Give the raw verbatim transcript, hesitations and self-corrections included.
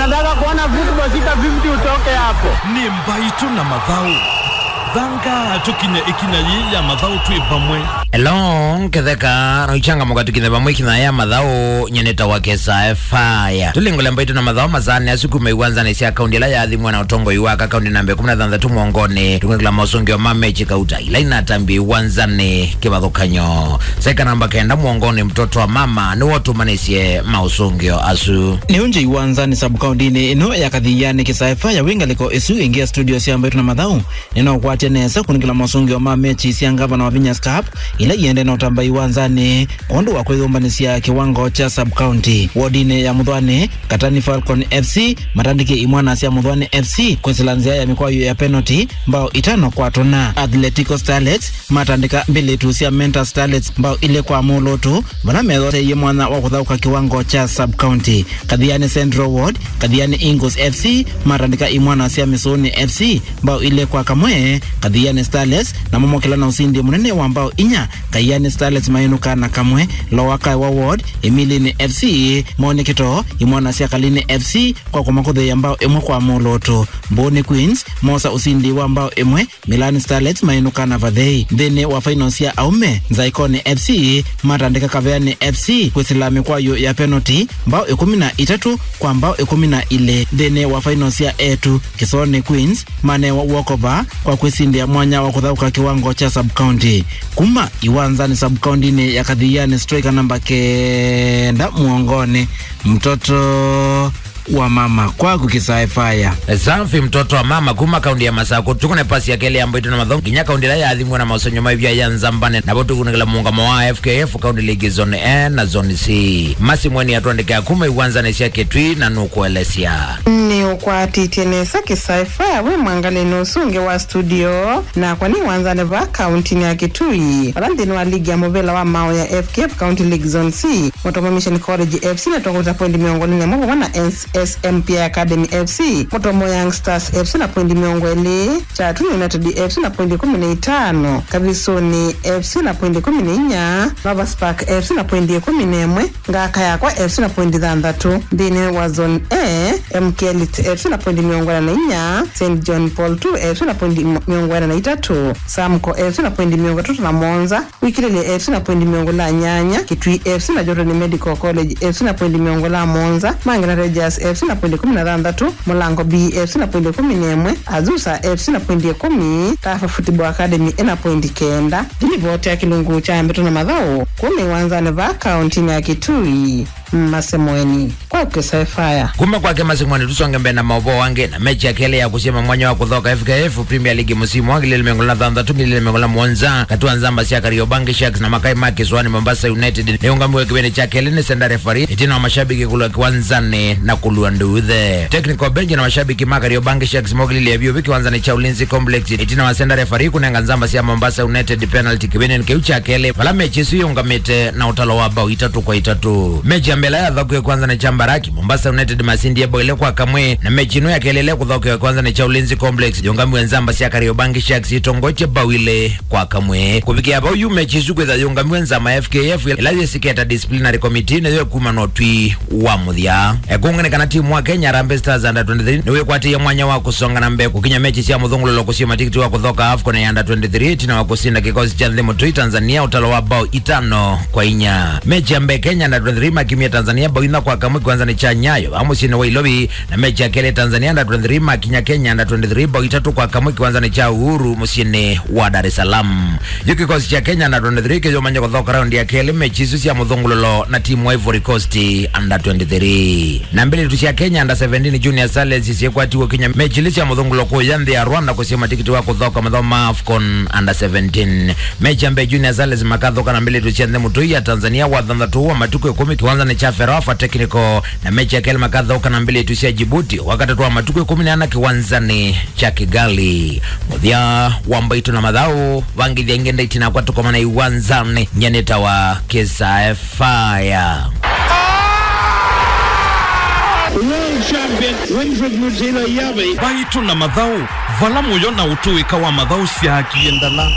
Nataka kuona football sita fifty utoke hapo. Nĩ Mbaitũ na Mathaũ. Thanga tũkinye ĩkinya yĩĩ ya mathaũ twĩ vamwe. Hello, Nketheka, noichanga mũka tũkinye vamwe ĩkinya ya mathaũ, nyeneta wa Kesa Fire. Tũlingũle Mbaitũ na Mathaũ masaanĩ asu kuma iwanzanĩ sya kaunti ĩla yaathimwa na ũtongoi wa aka kaunti namba ĩkũmi na thanthatũ mwongonĩ. Tũngĩkĩla maũsũngĩo ma mechi kauta ila inatambie iwanzanĩ kĩvathũkany'o. Saika namba kenda mwongonĩ, mtoto wa mama nĩwe ũtũmanĩsye maũsũngĩo asu. Nĩũngye iwanzanĩ sub-kauntinĩ ĩno ya Kathianĩ, Kesa Fire wĩ ngalĩko ĩsu ĩngĩ ya studio sya Mbaitũ na Mathaũ. Nĩnaũkwatya nesa kũnengela maũsũngĩo ma mechi sya ngavana wa Vinyas Cup ila iendee na ũtamba iwanzanĩ kwondũ wa kwĩyũmbanĩsya kĩwango kya sub-county. Wodinĩ ya Mũthwani, Katani Falcon F C matandĩkie Imwana sya Mũthwani F C kwĩsĩla nzĩa ya mĩkwayũ ya penalty, mbao itano kwa tũna. Athletico Starlets matandĩka mbĩlĩtu sya Mentor Starlets mbao ilĩ kwa mũlũtũ, vala methooteie mwanya wa kũthaũka kĩwango kya sub-county. Kathiani Central Ward, Kathiani Eagles F C matandĩka Imwana sya Mĩsũnĩ F C mbao ilĩ kwa kamwe. Kathiani Starlets namo mokĩla na ũsindi mũnene wa mbao inya. Kathiani Starlets mainũka na kamwe. Lower Kaiwa Ward, Imilini F C monie kĩtoo Imwana sya Kalini F C kwa kũmakũthĩĩa mbao ĩmwe kwa mũlũtũ. Mbũni Queens mosa ũsindi wa mbao ĩmwe Milan Starlets mainũka na vathei. Nthĩnĩ wa final sya aũme, Nzaikoni F C matandĩka Kaveani F C kwĩsĩla mĩkwayũ ya penalty, mbao ĩkũmi na itatũ kwa mbao ĩkũmi na ilĩ. Nthĩnĩ wa final sya etu, Kisoni Queens manewa walkover kwa kwĩsindĩa mwanya wa kũthaũka kĩwango kya sub-county. Kuma iwanzanĩ sub-county-nĩ ya Kathiani, striker namba kenda mũongonĩ, mtoto wa mama kwaku Kesa Fire. Safi, mtoto wa mama kuma kaunti ya Masakũ. Tũkũne pasi ya kelĩ ya Mbaitũ na Mathaũ nginya kaunti ĩla yaathimwa na maũsũngĩo ma ĩvia ya Nzambane, navo tũkunengela mũũngamo wa F K F County League Zone A na Zone C. Masi Mweni atũandĩkĩa kuma iwanzanĩ sya Kitui na nũkũelesya. Nĩũkwatĩtye nesa Kesa Fire wĩ mwangalĩnĩ ũsu ũngĩ wa studio, nakwa nĩ iwanzanĩ vaa kauntinĩ ya Kitui, vala nthĩnĩ wa ligi ya mũvĩla wa maũũ ya F K F County League Zone C, Mũtomo Mission College F C nĩtũkũta poindi mĩongo ĩlĩ na ĩmwe vamwe na S M P I Academy F C, Mũtomo Young Stars F C na poindi mĩongo ĩlĩ, Kyatuni United F C na poindi ĩkũmi na itano, Kavisuni F C na poindi ĩkũmi na inya, Lovers Park F C na poindi ĩkũmi na ĩmwe, Ngaka Yakwa F C na poindi thanthatũ. Nthĩnĩ wa Zone A, M K Elite F C na poindi mĩongo ĩna na inya, Saint John Paul two F C na poindi mĩongo ĩna na itatũ, Samco F C na poindi mĩongo ĩtatũ na mũonza, Wikilĩlye F C na poindi mĩongo ĩlĩ na nyanya, Kitui F C na Jordan Medical College F C na poindi mĩongo ĩlĩ na mũonza, Mangina Rangers F C na poindi ĩkũmi na thanthatũ, Mũlango B F C na poindi ĩkũmi na ĩmwe, Azusa F C na poindi ĩkũmi, Tafa Football Academy ĩna poindi kenda. Nĩ livoti ya kĩlungu kya Mbaitũ na Mathaũ kuma iwanzanĩ vaa kauntinĩ ya Kitui. Masi Mweni kwa Kesa Fire. Kuma kwake Masi Mweni, tũsonge mbee na maũvoo angĩ. Na mechi ya kelĩ ya kũsyama mwanya wa kũthoka F K F Premier League mũsimu wa ngili ilĩ mĩongo ĩlĩ na thanthatũ, ngili ilĩ mĩongo ĩlĩ na mũonza, katĩ wa Nzamba sya Kariobangi Sharks na Makai ma Kĩsũanĩ Mombasa United nĩyũngamiwe kĩvĩnĩ kya kelĩ nĩ center referee ĩtina wa mashabiki kũlwa kĩwanzanĩ na kũlua nduthe. Technical bench na mashabiki ma Kariobangi Sharks mokĩlilye vyũvĩ kĩwanzanĩ kya Ulinzi Complex ĩtina wa center referee kũnenga Nzamba sya Mombasa United penalty kĩvĩnĩnĩ kĩu kya kelĩ, vala mechi ĩsu yĩũngamĩte na ũtalo wa mbao itatũ kwa itatũ. Mechi ya mbee ĩla yathokiwe kĩwanzanĩ kya Mbaraki, Mombasa United masindie mbao ilĩ kwa kamwe, na mechi ĩno ya kelĩ ĩla ĩkũthokewa kĩwanzanĩ kya Ulinzi Complex yĩũngamiwe Nzamba sya Kariobangi Sharks itongoetye mbao ilĩ kwa kamwe. Kũvikĩa vau yu mechi ĩsu kwĩtha yĩũngamiwe Nzamba F K F ĩla yĩsiketa disciplinary committee nĩyo ĩkuma na ũtwi wa mũthya. Ekũng'e nĩ kana timu wa Kenya Harambee Stars under twenty-three nĩwĩkwatĩie mwanya wa kũsonga na mbee kũkinya mechi sya mũthũngũlũlo kũsio matikiti wa kũthoka AFCON ya under twenty-three ĩtina wa kũsinda kĩkosi kya nthĩ mũtũi Tanzania ũtalo wa mbao itano kwa inya. Mechi ya mbee Kenya under twenty-three makimie Tanzania mbao inya kwa kamwe kĩwanzanĩ kya Nyayo vaa mũsyĩnĩ wa Ilovi, na mechi ya kelĩ Tanzania under twenty-three makinya Kenya under twenty-three mbao itatũ kwa kamwe kĩwanzanĩ kya Uhuru mũsyĩnĩ wa Dar es Salaam. Yu kĩkosi kya Kenya under twenty-three kĩyũmany'a kũthoka raundi ya kelĩ mechi isu sya mũthũngũlũlo na timu wa Ivory Coast under twenty-three. Na mbĩlĩtu sya Kenya under seventeen Junior Starlets syĩkwatiwe kinya mechi ilĩ sya mũthũngũlũlo kũya nthĩ ya Rwanda kũsio matikiti wa kũthoka mathaũ ma AFCON under seventeen. Mechi ya mbee Junior Starlets makathoka na mbĩlĩtu sya nthĩ mũtũi ya Tanzania wa thanthatũ wa matukũ ĩkũmi kĩwanzanĩ kya Ferwafa Technical, na mechi ya kelĩ makathoka na mbĩlĩtu sya Djibouti wa katatũ wa matukũ ĩkũmi na ana kĩwanzanĩ kya Kigali. Mũthya wa Mbaitũ na Mathaũ, vangĩthya ngenda itinakwa tũkomana iwanzanĩ, nyanĩtawa Kesa Fire. World champion Winfred Mutilo Yabe. Mbaitũ na Mathaũ, vala mũyo na ũtũĩka wa mathaũ syaakie ndala.